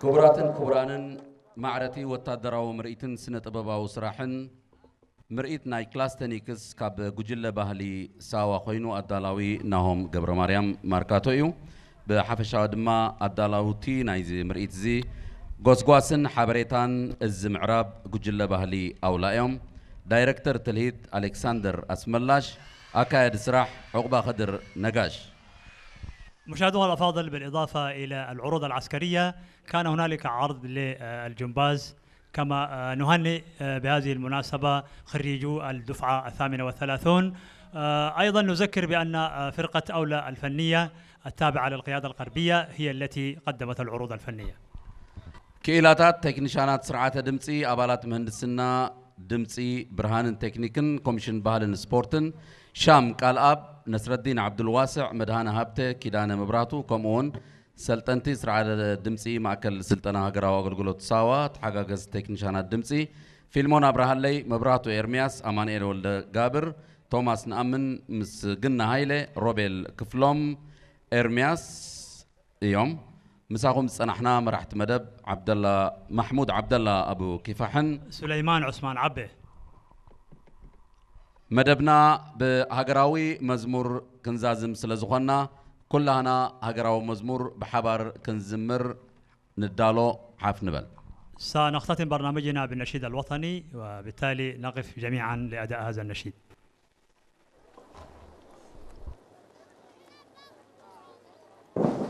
ክቡራትን ክቡራንን፣ ማዕረቲ ወታደራዊ ምርኢትን ስነ ጥበባዊ ስራሕን ምርኢት ናይ ክላስተኒክስ ካብ ጉጅለ ባህሊ ሳዋ ኮይኑ ኣዳላዊ ናሆም ገብረ ማርያም ማርካቶ እዩ። ብሓፈሻዊ ድማ ኣዳላውቲ ናይዚ ምርኢት እዚ ጎስጓስን ሓበሬታን እዚ ምዕራብ ጉጅለ ባህሊ ኣውላ እዮም። ዳይረክተር ትልሂት ኣሌክሳንደር ኣስመላሽ፣ ኣካያዲ ስራሕ ዑቕባ ከድር ነጋሽ። مشاهدونا الأفاضل، بالإضافة إلى العروض العسكرية كان هنالك عرض للجمباز، كما نهنئ بهذه المناسبة خريجو الدفعة الثامنة والثلاثون. أيضا نذكر بأن فرقة أولى الفنية التابعة للقيادة الغربية هي التي قدمت العروض الفنية. ክኢላታት ቴክኒሻናት ስርዓተ ድምፂ፣ ኣባላት ምህንድስና ድምፂ፣ ብርሃንን ቴክኒክን ኮሚሽን ባህልን ስፖርትን፣ ሻም ቃልኣብ፣ ነስረዲን ዓብዱልዋስዕ፣ መድሃነ ሃብተ፣ ኪዳነ መብራቱ፣ ከምኡ እውን ሰልጠንቲ ስርዓተ ድምፂ ማእከል ስልጠና ሃገራዊ ኣገልግሎት ሳዋ፣ ተሓጋገዝቲ ቴክኒሻናት ድምፂ ፊልሞን ኣብርሃለይ፣ መብራቱ ኤርምያስ፣ ኣማኑኤል ወልደ ጋብር፣ ቶማስ ንኣምን፣ ምስግና ሃይለ፣ ሮቤል ክፍሎም፣ ኤርምያስ እዮም። ምሳኹም ዝጸናሕና መራሕቲ መደብ ዓብደላ ማሕሙድ ዓብደላ ኣቡ ኪፋሕን سليمان عثمان عبه. መደብና ብሃገራዊ መዝሙር ክንዛዝም ስለ ዝኾንና፣ ኩላህና ሃገራዊ መዝሙር ብሓባር ክንዝምር ንዳሎ። ሓፍ ንበል። سنختتم برنامجنا بالنشيد الوطني، وبالتالي نقف جميعا لأداء هذا النشيد.